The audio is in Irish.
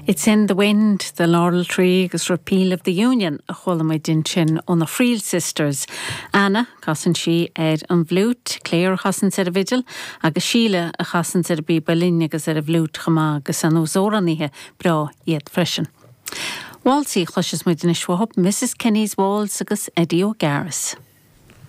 It's in the Wind, The Laurel Tree agus Repeal of the Union a chuala muid ansin ó na Friel Sisters. Anna, casann sí ar an bhfliúit, Claire a chasanns ar an bhfidil agus Síle a chasanns ar an bpíob uilleann agus ar an bhfliúit chomh maith agus sean-nós amhránaithe breá iad freisin. Válsaí a chloisfeas muid anois uathu, Mrs Kenny's Waltz agus Eddie O'Garris.